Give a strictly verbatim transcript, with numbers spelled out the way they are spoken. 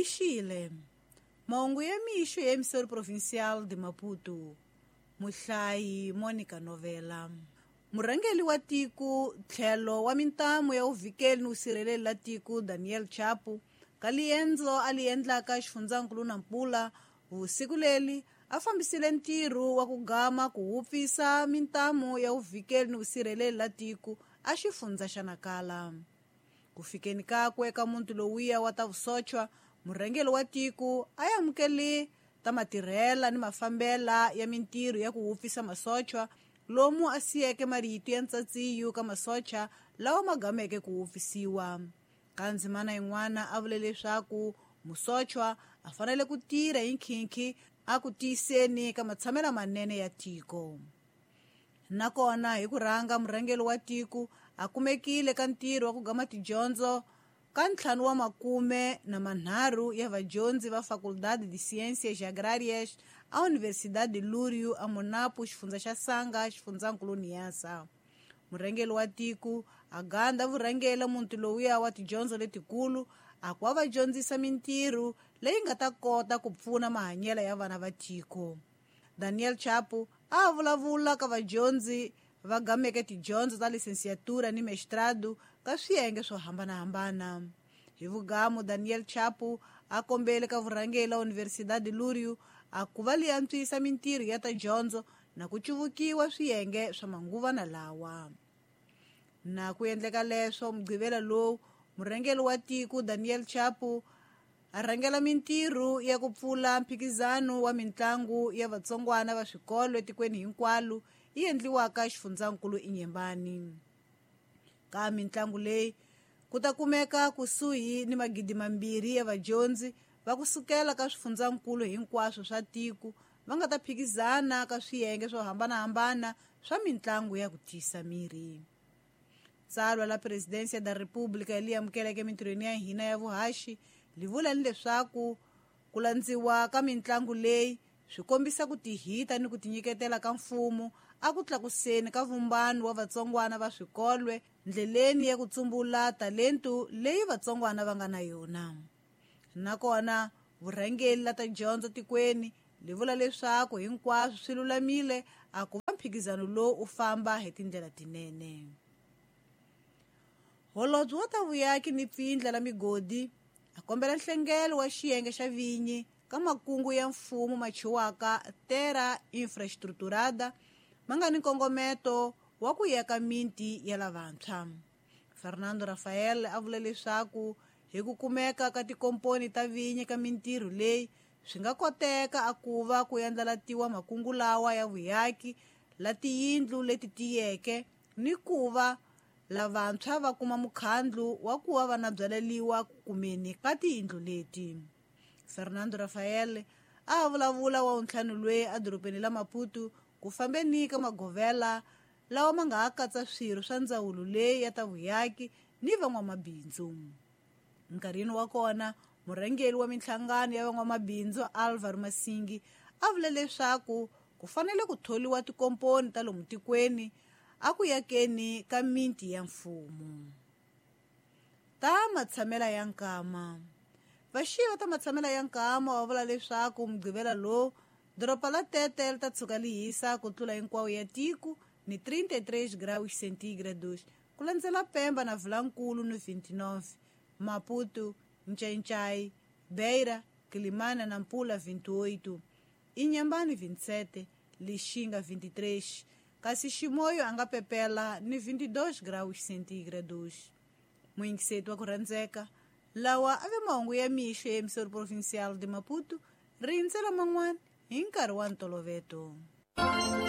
Rixile. Mahungu ya mixo ya Emissora Provincial de Maputo. Muhlayi Monica Novela. Murhangeri wa tiko tlhelo wa mintamu ya uvikeli ni vusirheleri la tiko Daniel Chapo ka liendzo a li endlaka xifundzankulu Nampula vusiku leli a fambisile ntirho wa ku gama ku wupfisa mintamu ya uvikeli ni vusirheleri la tiko a xifundza xa Nakala. Ku fikeni kakwe ka muntu lowuya wa ta vusochwa, murhangeri wa tiko a amukele ta matirhela ni mafambela ya mintirho ya ku wupfisa masochwa lomu a siyeke marito ya ntsatsiyo ka masocha lawa ma gameke ku wupfisiwa. Ka ndzimana yin'wana a vule leswaku musochwa a fanele ku tirha hi nkhinkhi a ku tiyiseni ka matshamelo manene ya tiko. Nakona hi ku rhanga murhangeri wa tiko a kumekile ka ntirho wa ku gama tidyondzo ka ntlhanu wa makume na manharhu ya vadyondzi va Faculdade de Ciências Agrárias a Universidade de Lúrio a Monapo, xifundza xa Sanga, xifundzankulu Niassa. Murhangeri wa tiko a ganda vurhangela muti lowuya wa tidyondzo letikulu a ku va dyondzisa mintirho leyi nga ta kota ku pfuna mahanyelo ya vana va tiko. Daniel Chapo a vulavula ka vadyondzi va gameke tidyondzo ta licenciatura ni mestrado ka swiyenge swo hambanahambana. Hi vugamu Daniel Chapo a kombele ka vurhangeri la Universidade Lúrio a ku va li antswisa mintirho ya ta dyondzo na ku cuvukiwa swiyenge swa manguvana lawa. Na ku endleka leswo mugqivela lowu murhangeri wa tiko Daniel Chapo a rhangela mintirho ya ku pfula mphikizano wa mintlangu ya vatsongwana va swikolo etikweni hinkwalo yi endliwaka xifundzankulu Inhambane. Ka mintlangu leyi ku ta kumeka kusuhi ni magidi mambirhi ya vadyondzi va kusukela ka swifundzankulu hinkwaswo swa tiko va nga ta phikizana ka swiyenge swo hambanahambana swa mintlangu ya ku tiyisa miri. Tsalwa la Presidência da República li amukeleke mintirhweni ya hina ya vuhaxi li vula ni leswaku ku landziwa ka mintlangu leyi swi kombisa ku tihita ni ku tinyiketela ka mfumo a ku tlakuseni ka vumbano wa vatsongwana va swikolwe ndleleni ya ku tsumbula talentu leyi vatsongwana va nga na yona. Nakona vurhangeri la ta dyondzo tikweni li vula leswaku hinkwaswo swi lulamile a ku va mphikizano lowu u famba hi tindlela tinene. Holobye wa ta vuyaki ni pfindla la migodi a kombela nhlengelo wa xiyenge xa vinyi ka makungu ya mfumo machiwaka Terra Infraestruturada ma nga ni nkongometo wa ku yaka minti ya lavantshwa. Fernando Rafael a vule leswaku hi ku kumeka ka tikomponi ta vinyi ka mintirho leyi swi nga koteka a ku va ku yandlalatiwa makungu lawa ya vuyaki la tiyindlu leti tiyeke ni ku va lavantshwa va kuma mukhandlu wa ku va va na byaleliwa ku kumeni ka tiyindlu leti. Fernando Rafael a vulavula wa ntlhanu lweyi edorobeni la Maputo ku fambeni ka magovela lawa ma nga ha katsa swirho swa ndzawulo leyi ya ta vuyaki ni van'wamabindzu. Nkarhini wa kona murhangeri wa minhlangano ya van'wamabindzu Alvaro Masingi a vule leswaku ku fanele ku tholiwa tikomponi ta lomu tikweni a ku yakeni ka minti ya mfumo. Ta matshamela ya nkama. Vaxiva ta matshamela ya nkama va vula leswaku mugqivela lowu doroba la Tete li ta tshuka li hisa ku tlula hinkwawo ya tiko ni trinta e três graus centígrados ku landzela Pemba na Vilankulu ni vinte e nove, Maputo, Nchainchai, Beira, Quilimana na Nampula vinte e oito, Inhambane vinte e sete, Lixinga vinte e três, kasi Chimoio a nga pepela ni vinte e dois graus centígrados. Muyingiseti wa ku rhandzeka, lawa a ve mahungu ya mixo ya Emissora Provincial de Maputo, rindzela man'wana hi nkarhi wa ntoloveto.